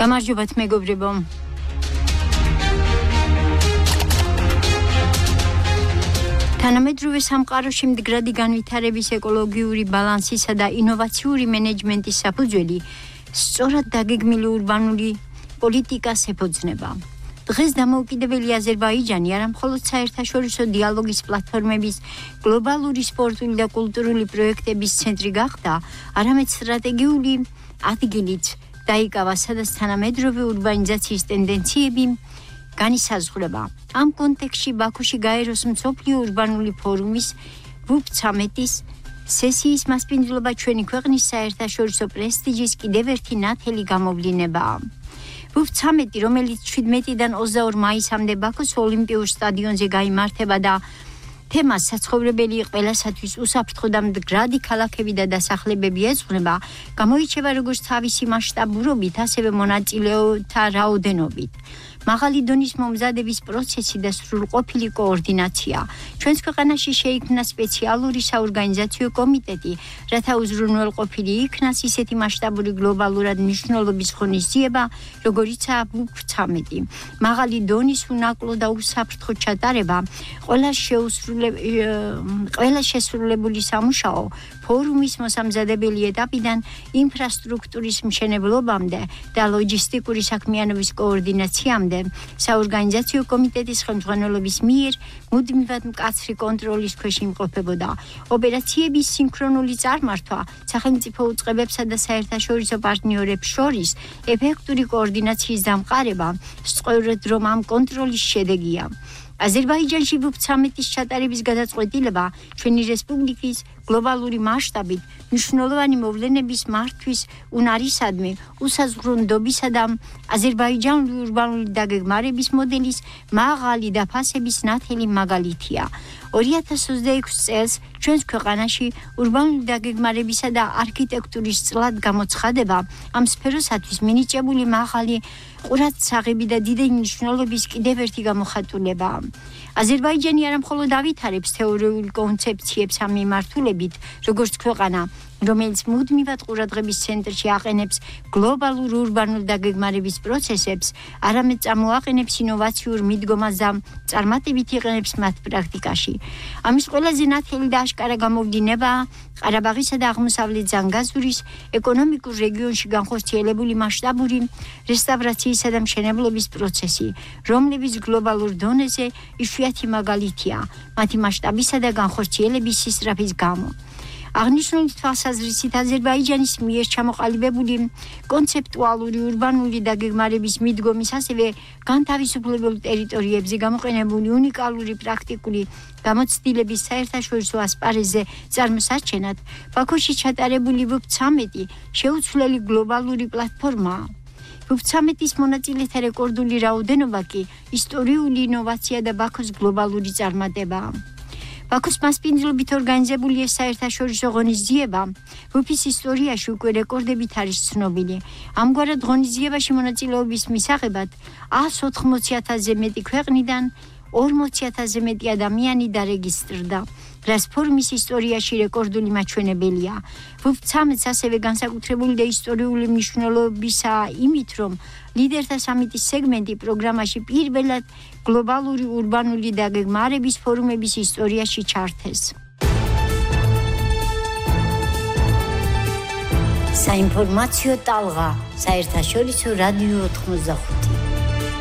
გამარჯობათ მეგობრებო. თანამედროვე სამყაროში მდგრადი განვითარების ეკოლოგიური ბალანსისა და ინოვაციური მენეჯმენტის საფუძველი სწორად დაგეგმილი ურბანული პოლიტიკას ეფუძნება. დღეს დამოუკიდებელი აზერბაიჯანი არა მხოლოდ საერთაშორისო დიალოგის პლატფორმების გლობალური სპორტული და კულტურული პროექტების ცენტრი გახდა, არამედ სტრატეგიული ადგილიც დაიკავა, სადაც თანამედროვე ურბანიზაციის ტენდენციები განისაზღვრება. ამ კონტექსტში ბაქოში გაეროს მსოფლიო ურბანული ფორუმის WUP-13-ის სესიის მასპინძლობა ჩვენი ქვეყნის საერთაშორისო პრესტიჟის კიდევ ერთი ნათელი გამოვლინებაა. WUP-13, რომელიც 17-დან 22 მაისამდე ბაქოს ოლიმპიურ სტადიონზე გაიმართება და თემას საცხოვრებელი ყველასათვის უსაფრთხო და მდგრადი ქალაქები და დასახლებები ეძღვნება, გამოირჩევა როგორც თავისი მასშტაბურობით, ასევე მონაწილეთა რაოდენობით. მაღალი დონის მომზადების პროცესი და სრულყოფილი კოორდინაცია. ჩვენს ქვეყანაში შეიქმნა სპეციალური საორგანიზაციო კომიტეტი, რათა უზრუნველყოფილი იქნას ისეთი მასშტაბური გლობალურად მნიშვნელობის ღონისძიება, როგორიცაა WUP-13. მაღალი დონის უნაკლო და უსაფრთხო ჩატარება, ყველა შესრულებული სამუშაო ფორუმის მოსამზადებელი ეტაპიდან ინფრასტრუქტურის მშენებლობამდე და ლოჯისტიკური საქმიანობის კოორდინაციამდე საორგანიზაციო კომიტეტის ხელმძღვანელობის მიერ მუდმივად მკაცრი კონტროლის ქვეშ იმყოფებოდა. ოპერაციების სინქრონული წარმართვა სახელმწიფო უწყებებსა და საერთაშორისო პარტნიორებს შორის ეფექტური კოორდინაციის დამყარება სწორედ რომ ამ კონტროლის შედეგია. აზერბაიჯანში WUP-13-ის ჩატარების გადაწყვეტილება ჩვენი რესპუბლიკის გლობალური მასშტაბით მნიშვნელოვანი მოვლენების მართვის უნარისადმი უსაზღვრონდობისა და აზერბაიჯანული ურბანული დაგეგმარების მოდელის მაღალი დაფასების ნათელი მაგალითია. 2026 წელს ჩვენს ქვეყანაში ურბანული დაგეგმარებისა და არქიტექტურის წლად გამოცხადება ამ სფეროსათვის მინიჭებული მაღალი ყურადსაღები და დიდი მნიშვნელობის კიდევ ერთი გამოხატულებაა. აზერბაიჯანი არა მხოლოდ ავითარებს თეორიულ კონცეფციებს ამ მიმართულებით, როგორც ქვეყანა, რომელიც მუდმივად ყურადღების ცენტრში აყენებს გლობალურ ურბანულ დაგეგმარების პროცესებს, არამედ წამოაყენებს ინოვაციურ მიდგომას და წარმატებით იყენებს მათ პრაქტიკაში. ამის ყველაზე ნათელი და აშკარა გამოვლინებაა ყარაბაღისა და აღმოსავლეთ ზანგაზურის ეკონომიკურ რეგიონში განხორციელებული მასშტაბური რესტავრაციისა და მშენებლობის პროცესი, რომლებიც გლობალურ დონეზე იშვიათი მაგალითია მათი მასშტაბისა და განხორციელების სისწრაფის გამო. აღნიშნული თვალსაზრისით აზერბაიჯანის მიერ ჩამოყალიბებული კონცეპტუალური ურბანული დაგეგმარების მიდგომის, ასევე განთავისუფლებულ ტერიტორიებზე გამოყენებული უნიკალური პრაქტიკული გამოცდილების საერთაშორისო ასპარეზზე წარმოსაჩენად, ბაქოში ჩატარებული WUP-13 შეუცვლელი გლობალური პლატფორმაა. WUP-13-ის მონაწილეთა რეკორდული რაოდენობა კი ისტორიული ინოვაცია და ბაქოს გლობალური წარმატებაა. ბაქოს მასპინძლობით ორგანიზებული ეს საერთაშორისო ღონისძიება WUP-ის ისტორიაში უკვე რეკორდებით არის ცნობილი. ამგვარად ღონისძიებაში მონაწილეობის მისაღებად 180,000-ზე მეტი ქვეყნიდან 40,000-ზე მეტი ადამიანი დარეგისტრდა, რაც ფორუმის ისტორიაში რეკორდული მაჩვენებელია. WUP-13 ასევე განსაკუთრებული და ისტორიული მნიშვნელობისაა იმით, რომ ლიდერთა სამიტის სეგმენტი პროგრამაში პირველად გლობალური ურბანული დაგეგმარების ფორუმების ისტორიაში ჩართეს. საინფორმაციო ტალღა, საერთაშორისო რადიო 95.